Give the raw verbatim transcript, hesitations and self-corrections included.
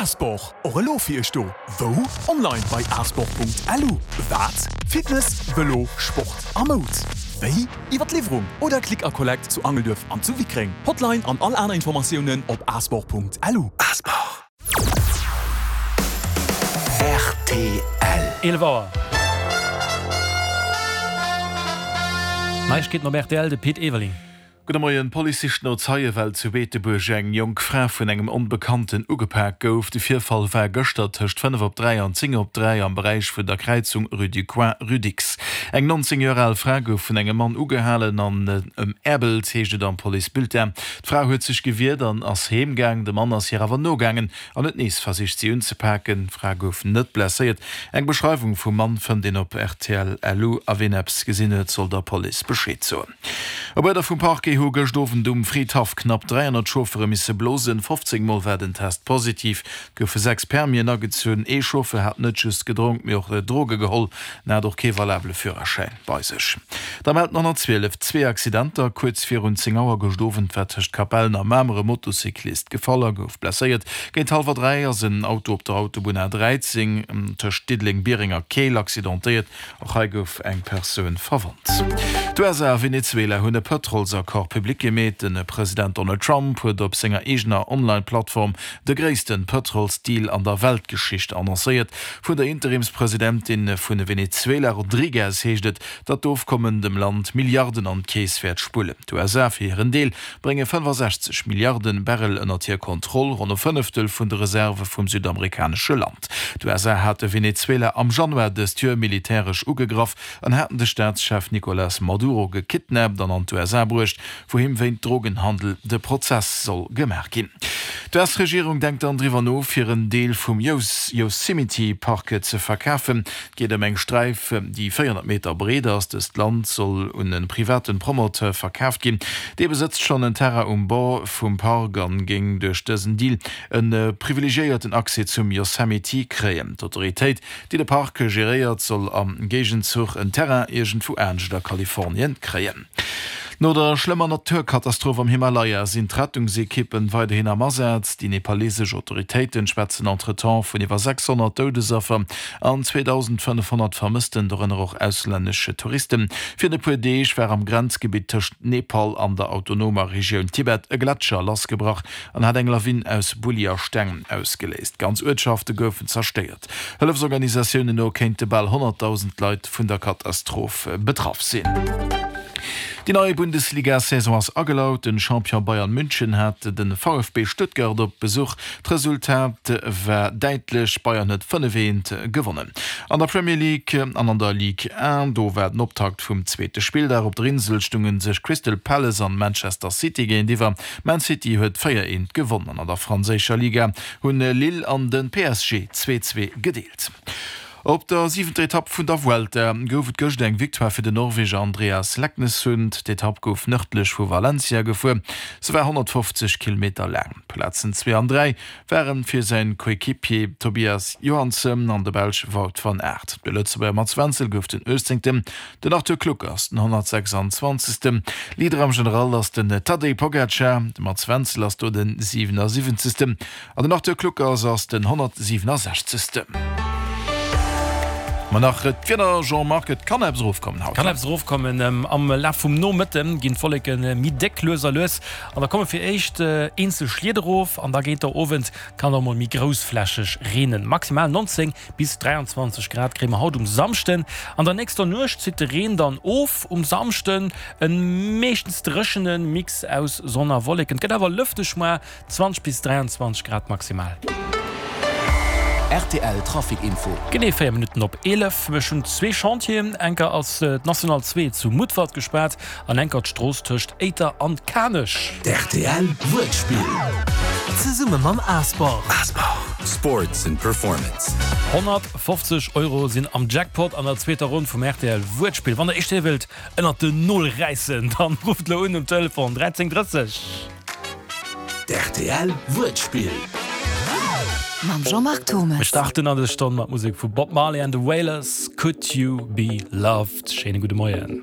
Asport, och elo fir iech do. Wou? Online bei asport.lu. Wat? Fitness, Vëlo, Sport a Moud. Wéi? Iwwer d'Liwwerung oder Click a Collect zu Angelduerf an zu Wickreng. Hotline an all aner Informatiounen op asport.lu. Asport. Rtl. Eelef Auer. Neiegkeeten op rtl, de Pit Everling. Gudde Moien. D'Police sicht no Zeie well zu Beetebuerg eng jonk Fra vun engem Onbekannten ugepak gouf. De Virfall war gëschter tëscht fënnef op dräi an zéng op dräi am Beräich vun der Kräizung Rue du Coin, Rue Dicks. Eng nonzéng Joer al Fra gouf vun engem Mann ugehalen an ëmäerbelt, heescht et am Policebulletin. D'Fra huet sech gewiert an ass heem gaang. De Mann ass hir awer nogaangen an huet nees versicht si unzepaken. D'Fra gouf net blesséiert. Eng Beschreiwung vum Mann fënnt een op rtl lu a ween eppes gesinn huet, soll der Police Bescheed soen. Op Uerder vum Parquet hu gëscht Owend um Fridhaff knapp dräihonnert Chauffere misse blosen. fofzéng Mol war den Test positiv. Et goufe sechs Permien agezunn. Ee Chauffeur hat net just gedronk, mee och Droge geholl an hat och kee valabele Führerschäin bei sech. Da mellt den honnertzwielef zwee Accidenter. Kuerz virun zéng Auer gëscht Owend war tëscht Capellen a Mamer e Motocyclist gefall a gouf blesséiert. Géint hallwer dräi ass en Auto op der Autobunn A dräizéng tëscht Diddeleng, Biereng a Keel accidentéiert. Och hei gouf eng Persoun verwonnt. D'USA a Venezuela hunn e Pëtrolsaccord public gemeet. De President Donald Trump huet op senger eegener Online-Plattform de gréisste Pëtrolsdeal an der Weltgeschicht annoncéiert. Vun der Interimspresidentin vu Venezuela Rodriguez heescht et, datt d'Ofkommen dem Land Milliarden an d'Keess wäert spullen. D'USA fir hiren Deel brénge fënnefasechzeg Milliarde Barrel ënnert hir Kontroll, ronn e Fënneftel vun de Reserve vum südamerikanesche Land. D'USA hate Venezuela am Januar dëst Joer militäresch ugegraff an haten de Staatschef Nicolas Maduro gekidnappt an an d'USA bruecht, wou him wéint Drogenhandel de Prozess soll gemaach ginn. D'US-Regierung denkt dann driwwer no, fir en Deel vum Yosemite Park ze verkafen. Et geet ëm eng Sträif, déi véierhonnert Meter breet ass. Dëst Land soll un e private Promoteur verkaaft ginn. Dee besëtzt schonn en Terrain um Bord vum Park an géing duerch dësen Deal e privilegiéierten Accès zum Yosemite kréien. D'Autoritéit, déi de Park geréiert, soll am Géigenzuch en Terrain iergendwou anescht a Kalifornien kréien. No der schlëmmer Naturkatastroph am Himalaya sinn d'Rettungsekippen weiderhin am Asaz. Déi nepalesesch Autoritéiten schwätzen entretemps vun iwwer sechshonnert Doudesaffer an zweedausendfënnefhonnert Vermëssten, dorënner och auslännesch Touristen. Virun e puer Deeg war am Grenzgebitt tëscht Nepal an der autonomer Regioun Tibet e Gletscher lassgebrach an hat eng Lawin aus Bulli a Steng ausgeléist. Ganz Uertschafte goufen zerstéiert. Hëllefsorganisatiounen no kéinte bal honnertdausend Leit vun der Katastroph betraff sinn. Déi nei Bundesliga-Saison ass agelaut. Den Champion Bayern München hat de V F B Stuttgart op Besuch. D'Resultat war däitlech, Bayern huet fënnef eent gewonnen. An der Premier League an an der Ligue un, do war den Optakt vum zweete Spilldag. Op der Insel stunge sech Crystal Palace an Manchester City géintiwwer. Man City huet véier eent gewonnen an an der franséischer Liga hunn Lille an de P S G zwee zwee gedeelt. Op der siwenter Etapp vun der Vuelta gouf et gëscht eng Victoire fir den Norweger Andreas Leknessund. D'Etapp gouf nërdlech vu Valencia gefuer. Se war honnertfofzeg Kilometer laang. D'Plazen zwee an dräi ware fir säin Coequipier Tobias Johansson an de Belsch Wout van Aert. De Lëtzebuerger Mats Wenzel gouf den uechtzéngten, den Arthur Kluckers den honnertsechsanzwanzegsten. Leader am General ass den Tadej Pogacar, de Mats Wenzel ass do den siwenasiwwenzegsten an den Arthur Kluckers ass den honnertsiwenasechzegsten. Ma nach d'Wieder, Jean-Marc, et kann eppes erofkommen haut. Kann eppes erofkommen. Am Laf vum Nomëtte ginn d'Wolleke méi déck, lues a lues, an da komme fir d'éischt eenzel Schliet erof an da géint der Owend kann et och mol méi groussflächeg reenen. Maximal neunzéng bis dräianzwanzeg Grad kréie mer haut um Samschden. An der nächster Nuecht zitt de Reen dann of. Um Samschden e meeschtens dréchene Mix aus Sonn a Wolleken. Et gëtt awer lëfteg, moar zwanzeg bis dräianzwanzeg Grad maximal. R T L Trafic Info. Genee véier Minutten op eelef. Ech hunn zwee Chantieren. Enker ass d'National zwee zu Mutfert gespaart an enker d'Strooss tëscht Éiter an Kanech. D' R T L Wuertspill. Zesumme mam Asport. Sports and Performance. honnertfofzeg Euro sinn am Jackpot an der zweeter Ronn vum R T L Wuertspill. Wann der Iech déi wëllt ënnert den Nol räissen, dann rufft elo un um Telefon dräizéng drësseg. D' R T L Wuertspill. Mam Jean-Marc Thommes. Mir starten an dës Stonn mat Musek vu Bob Marley and the Wailers, Could You Be Loved. Schéine gudde Moien.